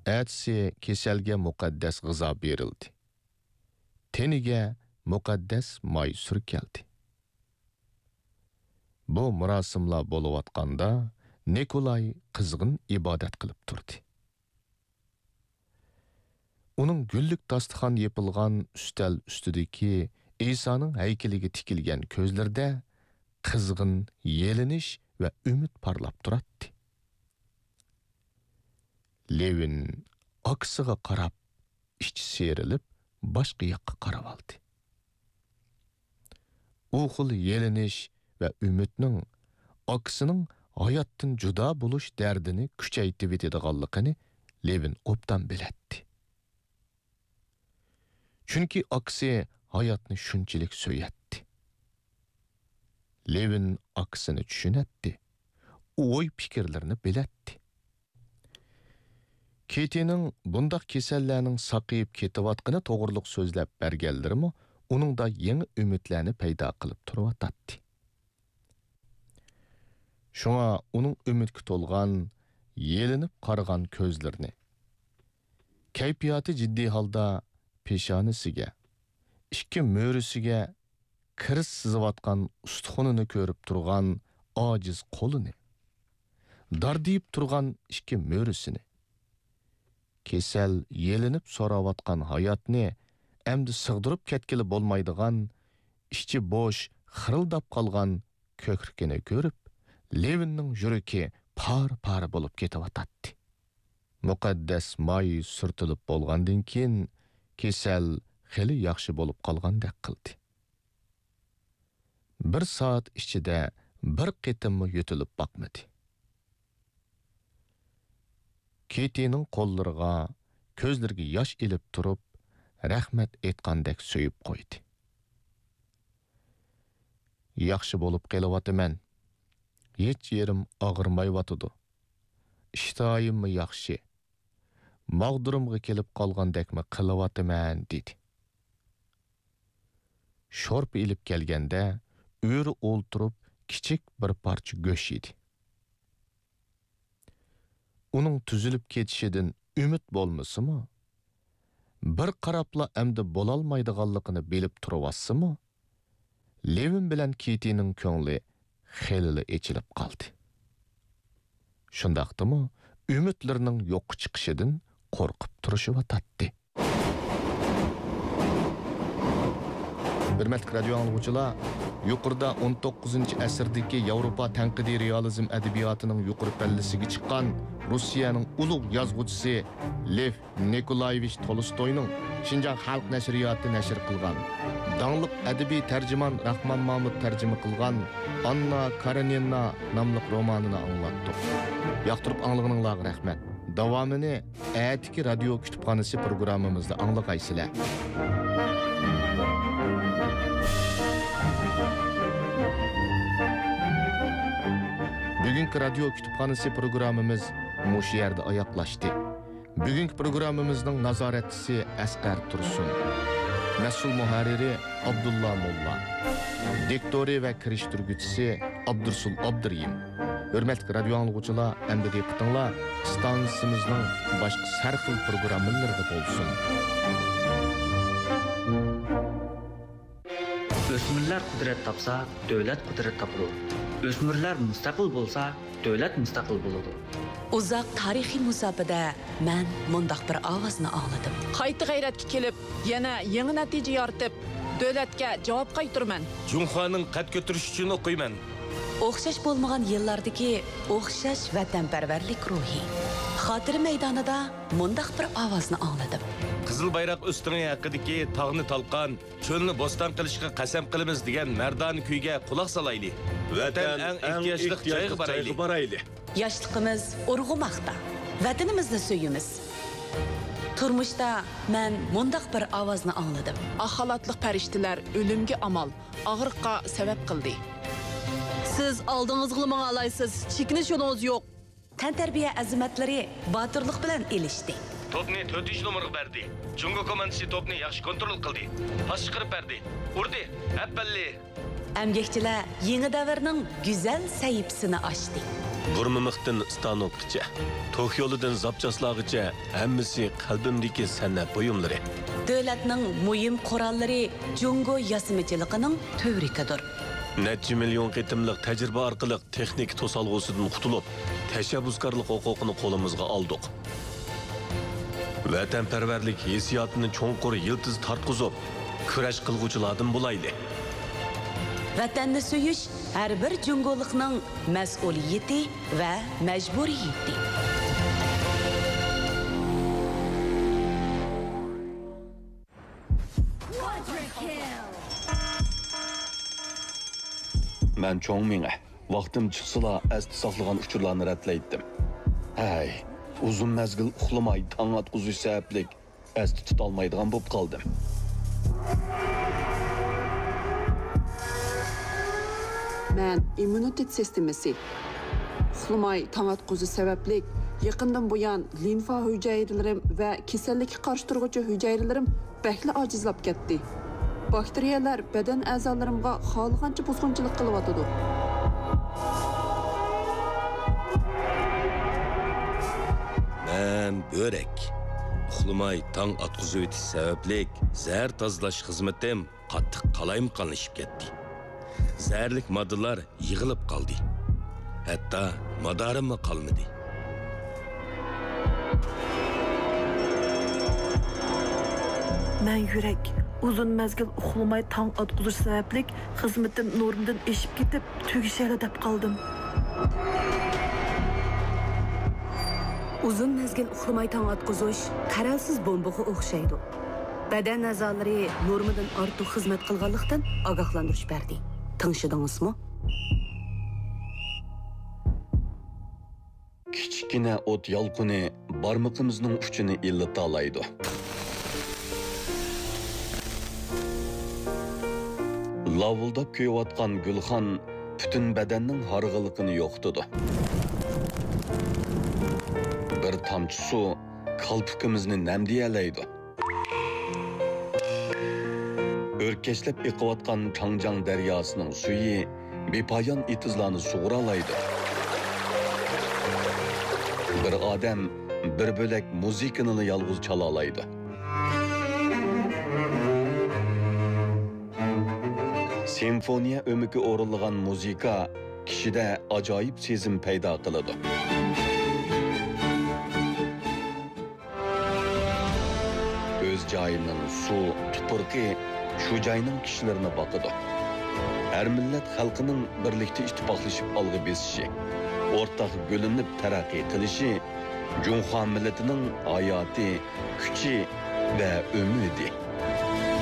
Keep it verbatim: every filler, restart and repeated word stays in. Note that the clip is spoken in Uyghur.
ئەتىسى كېسەلگە مۇقەددەس غىزا بېرىلدى. تېنىگە مۇقەددەس ماي سۈركەلدى. بۇ مۇراسىملار بولۇۋاتقاندا، نىكولاي قىزغىن ئىبادەت قىلىپ تۇردى. ئۇنىڭ گۈللۈك داستىخان يېپىلغان ئۈستەل ئۈستىدىكى ئىسانىڭ ھەيكىلىگە تىكىلگەن كۆزلىرىدە قىزغىن يېلىنىش ۋە ئۈمىد پارلاپ تۇراتتى. لېۋىن ئاكىسىغا قاراپ، ئىچى سىيرىلىپ، باشقا ياققا قاراۋالدى. ئۇ خىل يېلىنىش ۋە ئۈمىدنىڭ ئاكىسىنىڭ ھاياتتىن جۇدا بولۇش دەردىنى كۈچەيتىۋېتىدىغانلىقىنى لېۋىن ئوبدان بىلەتتى. چۈنكى ئاكىسى ھاياتنى شۇنچىلىك سۆيەتتى. لېۋىن ئاكىسىنى چۈشىنەتتى، ئوي-پىكىرلىرىنى بىلەتتى. كېتىنىڭ بۇنداق كېسەللەرنىڭ ساقىيىپ كېتىۋاتقىنى توغرۇلۇق سۆزلەپ بەرگەنلىرىمۇ ئۇنىڭدا يېڭى ئۈمىدلەرنى پەيدا قىلىپ تۇرۇۋاتاتتى. شۇڭا ئۇنىڭ ئۈمىدكە تولغان، يېلىنىپ قارىغان كۆزلىرىنى، كەيپىياتى جىددىي ھالدا پېشانىسىگە، ئىككى مۈرىسىگە كىرىز سىزىۋاتقان ئۇستىخۇنىنى كۆرۈپ تۇرغان ئاجىز قولىنى، داردىيىپ تۇرغان ئىككى مۈرىسىنى، كېسەل يېلىنىپ سوراۋاتقان ھاياتنى ئەمدى سىغدۇرۇپ كەتكىلى بولمايدىغان، ئىچى بوش، خىرىلداپ قالغان كۆكرىكىنى كۆرۈپ، لېۋىننىڭ يۈرىكى پارە-پارە بولۇپ كېتىۋاتاتتى. مۇقەددەس ماي سۈرتۈلۈپ بولغاندىن كېيىن، كېسەل خېلى ياخشى بولۇپ قالغاندەك قىلدى. بىر سائەت ئىچىدە بىر قېتىممۇ يۆتىلىپ باقمىدى. كېتىنىڭ قوللىرىغا، كۆزلىرىگە ياش ئېلىپ تۇرۇپ، رەھمەت ئېيتقاندەك سۆيۈپ قويدى. ياخشى بولۇپ قېلىۋاتىمەن. ھېچ يېرىم ئاغرىمايۋاتىدۇ. ئىشتىھايىممۇ ياخشى. ماغدۇرۇمغا كېلىپ قالغاندەكمۇ قىلىۋاتىمەن، دېدى. شورپا ئېلىپ كەلگەندە، ئۆرە ئولتۇرۇپ كىچىك بىر پارچە گۆش يېدى. ئۇنىڭ تۈزۈلۈپ كېتىشىدىن ئۈمىد بولمىسىمۇ، بىر قاراپلا ئەمدى بولالمايدىغانلىقىنى بىلىپ تۇرۇۋاتسىمۇ، لېۋىن بىلەن كېتىنىڭ كۆڭلى خېلىلا ئېچىلىپ قالدى. شۇنداقتىمۇ ئۈمىدلىرىنىڭ يوققا چىقىشىدىن قورقۇپ تۇرۇشۇۋاتاتتى. ھۆرمەتلىك رادىيو ئاڭلىغۇچىلار، يۇقىرىدا ئون توققۇزىنچى ئەسىردىكى ياۋروپا تەنقىدىي رېئالىزم ئەدەبىياتىنىڭ يۇقىرى پەللىسىگە چىققان روسىيەنىڭ ئۇلۇغ يازغۇچىسى لېف نىكولايېۋىچ تولستوينىڭ شىنجاڭ خەلق نەشرىياتى نەشر قىلغان، داڭلىق ئەدەبىي تەرجىمان راخمان مامۇت تەرجىمە قىلغان ئاننا كارېنىنا ناملىق رومانىنى ئاڭلاتتۇق. ياقتۇرۇپ ئاڭلىغىنىڭلارغا رەھمەت. داۋامىنى ئەتىكى رادىيو كۇتۇپخانىسى پروگراممىمىزدا ئاڭلىغايسىلەر. بۈگۈنكى رادىيو كۇتۇپخانىسى پروگراممىمىز مۇشۇ يەردە ئاياغلاشتى. بۈگۈنكى پروگراممىمىزنىڭ نازارەتچىسى ئەسقەر تۇرسۇن. مەسئۇل مۇھەررىرى ئابدۇللا موللا. دىكتورى ۋە كىرىشتۈرگۈچىسى ئابدۇرسۇل ئابدۇرېھىم. ھۆرمەتلىك رادىيو ئاڭلىغۇچىلار، ئەمدى دىققىتىڭلار ئىستانسىمىزنىڭ باشقا سەرخىل پروگراممىلىرىدا بولسۇن. ئۆسمۈرلەر قۇدرەت تاپسا، دۆلەت قۇدرەت تاپىدۇ. ئۆسمۈرلەر مۇستەقىل بولسا، دۆلەت مۇستەقىل بولىدۇ. ئۇزاق تارىخىي مۇساپىدە مەن مۇنداق بىر ئاۋازنى ئاڭلىدىم. قايتا غەيرەتكە كېلىپ، يەنە يېڭى نەتىجە يارىتىپ، دۆلەتكە جاۋاب قايتۇرىمەن. جۇڭخۇانىڭ قەد كۆتۈرۈشى ئۈچۈن ئوقۇيمەن. ئوخشاش بولمىغان يىللاردىكى ئوخشاش ۋەتەنپەرۋەرلىك روھى. خاتىرە مەيدانىدا مۇنداق بىر ئاۋازنى ئاڭلىدىم. قىزىل بايراق ئۆستىڭى ھەققىدىكى تاغنى تالقان، چۆلنى بوستان قىلىشقا قەسەم قىلىمىز دېگەن مەردانە كۈيگە قۇلاق سالايلى. ۋەتەن ئەڭ ئېھتىياجلىق جايغا بارايلى. ياشلىقىمىز ئۇرغۇماقتا. ۋەتىنىمىزنى سۆيىمىز. تۇرمۇشتا مەن مۇنداق بىر ئاۋازنى ئاڭلىدىم. ئاق خالاتلىق پەرىشتىلەر ئۆلۈمگە ئامال، ئاغرىققا سەۋەب قىلدى. سىز ئالدىڭىزغىلا ماڭالايسىز، چېكىنىش يولىڭىز يوق. تەنتەربىيە ئەزىمەتلىرى باتۇرلۇق بىلەن ئېلىشتى. توپنى تۆتىنچى نومۇرغا بەردى. جۇڭگو كوماندىسى توپنى ياخشى كونترول قىلدى. پاس چىقىرىپ بەردى. ئۇردى. ئەپەللى! ئەمگەكچىلەر يېڭى دەۋرنىڭ گۈزەل سەھىپىسىنى ئاچتى. بۇرما مىختىن ستانوكقىچە، توك يولىدىن زاپچاسلارغىچە ھەممىسى قەلبىمدىكى سەنئەت بۇيۇملىرى. دۆلەتنىڭ مۇھىم قوراللىرى جۇڭگو ياسىمىچىلىقىنىڭ تۈۋرۈكىدۇر. نەچچە مىليون قېتىملىق تەجرىبە ئارقىلىق تېخنىكا توسالغۇسىدىن قۇتۇلۇپ، تەشەببۇسكارلىق ھوقۇقىنى قولىمىزغا ئالدۇق. ۋەتەنپەرۋەرلىك ھېسسىياتىنى چوڭقۇر يىلتىز تارتقۇزۇپ، كۈرەش قىلغۇچىلاردىن بولايلى. ۋەتەننى سۆيۈش ھەر بىر جۇڭگولۇقنىڭ مەسئۇلىيىتى ۋە مەجبۇرىيىتى. مەن چوڭ مېڭە، ۋاقتىم چىقسىلا ئەستە ساقلىغان ئۇچۇرلارنى رەتلەيتتىم. ھەي، ئۇزۇن مەزگىل ئۇخلىماي تاڭ ئاتقۇزۇش سەۋەبلىك ئەستە تۇتالمايدىغان بولۇپ قالدىم. مەن ئىممۇنىتېت سىستېمىسى. ئۇخلىماي تاڭ ئاتقۇزۇش سەۋەبلىك يېقىندىن بۇيان لىمفا ھۈجەيرىلىرىم ۋە كېسەللىككە قارشى تۇرغۇچى ھۈجەيرىلىرىم بەكلا ئاجىزلاپ كەتتى. باكتېرىيەلەر بەدەن ئەزالىرىمغا خالىغانچە بۇزغۇنچىلىق قىلىۋاتىدۇ. مەن بۆرەك. ئۇخلىماي تاڭ ئاتقۇزۇۋېتىش سەۋەبلىك زەھەر تازىلاش خىزمىتىم قاتتىق قالايمىقانلىشىپ كەتتى. زەھەرلىك ماددىلار يىغىلىپ قالدى. ھەتتا مادارىممۇ قالمىدى. مەن يۈرەك. ئۇزۇن مەزگىل ئۇخلىماي تاڭ ئاتقۇزۇش سەۋەبلىك خىزمىتىم نورمىدىن ئېشىپ كېتىپ، تۈگىشەيلا دەپ قالدىم. ئۇزۇن مەزگىل ئۇخلىماي تاڭ ئاتقۇزۇش قەرەلسىز بومبىغا ئوخشايدۇ. بەدەن ئەزالىرى نورمىدىن ئارتۇق خىزمەت قىلغانلىقتىن ئاگاھلاندۇرۇش بەردى. تىڭشىدىڭىزمۇ؟ كىچىككىنە ئوت يالقۇنى بارمىقىمىزنىڭ ئۇچىنى ئىللىتالايدۇ. لاۋۇلداپ كۆيۈۋاتقان گۈلخان پۈتۈن بەدەننىڭ ھارغىنلىقىنى يوقىتىدۇ. بىر تامچە سۇ كالپۇكىمىزنى نەمدىيەلەيدۇ. ئۆركەشلەپ ئېقىۋاتقان چاڭجياڭ دەرياسىنىڭ سۈيى بىپايان ئېتىزلارنى سۇغۇرالايدۇ. بىر ئادەم بىر بۆلەك مۇزىكىنىلا يالغۇز چالالايدۇ. سىمفونىيە ئۆمىكى ئورۇنلىغان مۇزىكا كىشىدە ئاجايىپ سېزىم پەيدا قىلىدۇ. ئۆز جايىنىڭ سۇ، تۇپرىقى شۇ جاينىڭ كىشىلىرىنى باقىدۇ. ھەر مىللەت خەلقىنىڭ بىرلىكتە ئىتتىپاقلىشىپ ئالغا بېسىشى، ئورتاق گۈللىنىپ تەرەققىي قىلىشى جۇڭخۇا مىللىتىنىڭ ھاياتى، كۈچى ۋە ئۈمىدى.